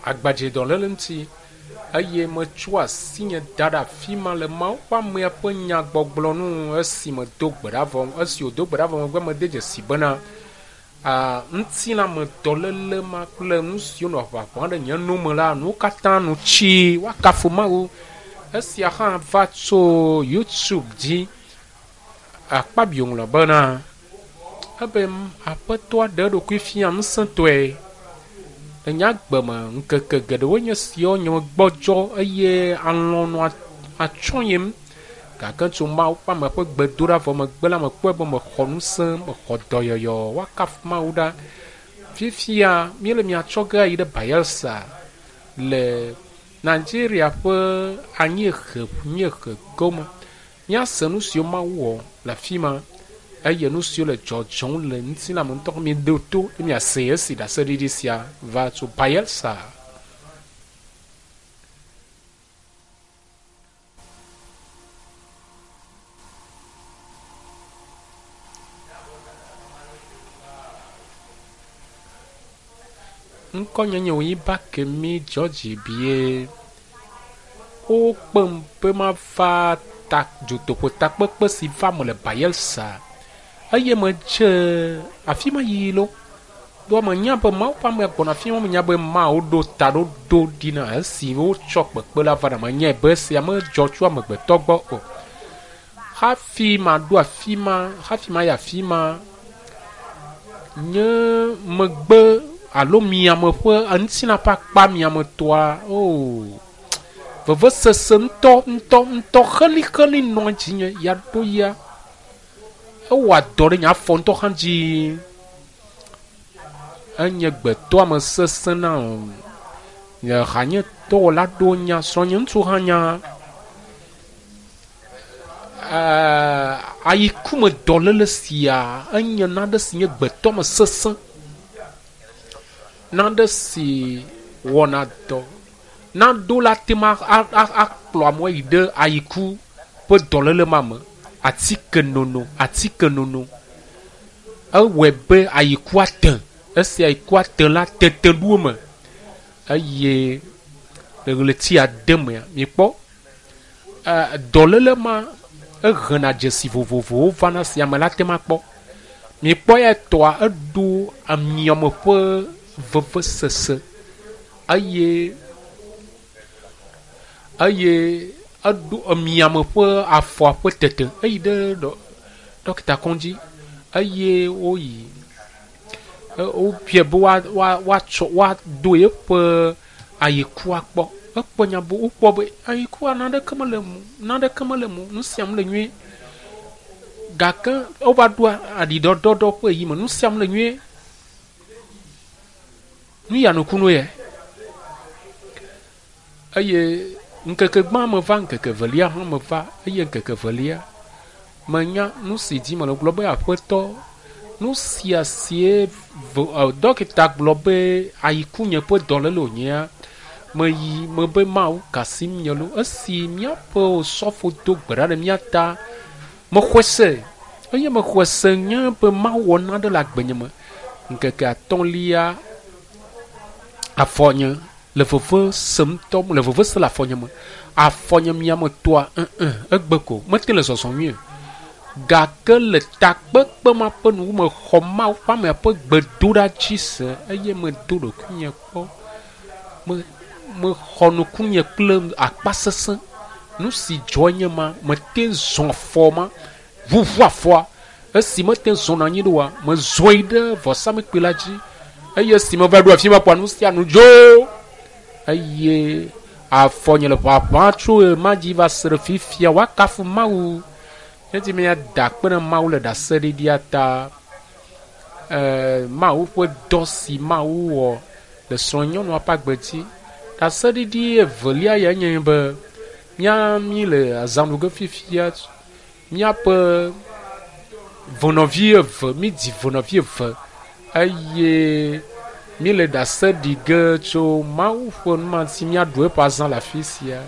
Agbadzedɔléle ŋuti eye metsɔ asinye da ɖe afi ma le Mawu ƒe amea ƒe nyagbɔgblɔ nu esi medo gbe ɖa vɔ esi wòdo gbe ɖa vɔ megbe mede dzesi bena a ŋutilãmedɔléle ma kple nu siwo nɔ ʋaʋã ɖe nye nu me la nuwo katã nu tsi woakafu Mawu. Esia hã va tso YouTube dzi. Akpabio ŋlɔ bena ebe aƒetɔa ɖe eɖokui fia ŋusẽtɔe le nye agbe me ŋkeke geɖewoe nye esiawo nye megbɔdzɔ eye alɔ̃ nɔ atsyɔ̃yem gake tso Mawu ƒe ame ƒe gbedoɖa vɔ megbe la mekpɔe be mexɔ ŋusẽ, mexɔ dɔyɔyɔ. Woakafu Mawu ɖa. Fifia míele mia tsɔ ge ayi ɖe Bayelsa le Nigeria ƒe anyiehe nyiehe gome. Míase nu siwo Mawu wɔ le afi ma eye nu siwo le dzɔdzɔm le ŋutilã me ŋutɔ. Miɖo to eye miasee esi ɖaseɖiɖi sia va tso Bayelsa. Ŋkɔnye nye Oyibakemi George Bie. Wokpem be mava ta dutoƒo takpekpe si va me le Bayelsa eye medze afi ma yiyi lo. Ɖoa menya be Mawu ƒe amea gbɔna afi ma, menya be Mawu ɖo taɖoɖo ɖi na esi wotsɔ kpekpe la va na. Menyae be esia medzɔ tso amegbetɔ gbɔ o. Hafi maɖo afi ma, hafi mayi afi ma, nye megbe alo miame ƒe ŋutilã ƒe akpa miametɔa, oo, vevesese ŋutɔ ŋutɔ ŋutɔ xelixeli nɔ dzinye ya ɖo ya. Ewɔa dɔ ɖe nye afɔ ŋutɔ hã dzi. Enye gbetɔame sesẽ na nye hanyetɔwɔla ɖewo nya, srɔ̃nye ŋutsu hã nya. Ayikume dɔléle sia enye nane si nye gbetɔame sesẽ, nane si wɔna dɔ naɖo la ate ŋu akplɔ amewo ayi ɖe ayiku ƒe dɔléle ma me. Atike nono, atike nono ewɔe be ayikua te. Esi ayikua te la, tete ɖo eme eye le ɣleti ade mea, mikpɔ dɔléle ma ehena dzesi vovovowo vana si ame la te ŋu akpɔ. Mikpɔ ya etɔa eɖo amiame ƒe vevesese eye eye eɖo emiame ƒe afɔa ƒe tete eyi ɖe ɖɔkita kɔdzi eye woyi wobia be woatsɔ woado yeƒe ayikua kpɔ. Ekpɔ nya be wokpɔ be ayikua naneke mele eme o, naneke mele eme o, nu sia nu le nyuie. Gake wova ɖo aɖiɖɔɖɔɖɔ ƒe ɣeyiɣi me, nu sia nu le nyuie. Nu ya nukunu ye. Eye ŋkeke gbã meva, ŋkeke evelia hã meva eye ŋkeke evelia menya nu si dzi mele gblɔ be aƒetɔ nu sia sie dɔkita gblɔ be ayikunye ƒe dɔléle wònyea meyi mebe Mawu ka asim nye lo. Esi míaƒe osɔfo do gbe ɖa ɖe mía ta mexɔe se eye mexɔe se nye be Mawu wɔ nane le agbenye me. Ŋkeke atɔ̃lia afɔnye le veve sem ŋutɔ, le veve sem le afɔnye me. Afɔnye miame tɔa ŋ egbe ko mete le zɔzɔm nyuie o. Gake le takpekpe ma ƒe nuwu mexɔ Mawu ƒe amea ƒe gbedoɖa dzi se eye medo ɖokuinye kpɔ. Me mexɔ nukunye kple akpa sesẽ. Nu si dzɔ nye ma, mete zɔ afɔ ma, ʋuʋu afɔa. Esi mete ŋu zɔna anyi ɖoa, mezɔ yi ɖe vɔsamlekpui la dzi eye esi meva ɖo afi ma kpɔa, nu sia nu dzo eye afɔnye le ʋaʋã tso ɣe ma dzi va se ɖe fifia. Woakafu Mawu. Edi be míada akpe na Mawu le ɖaseɖiɖia ta. E, Mawu ƒe dɔ si Mawu wɔ le srɔ̃nyɔnua ƒe agbe dzi. Ɖaseɖiɖi evelia ya nye be mía mí le azã ɖu ge fifia. Míaƒe venɔvi eve, mídzi venɔvi eve eye míle ɖase ɖi ge tso Mawu ƒe nu ma si míaɖu eƒe azã le afi sia.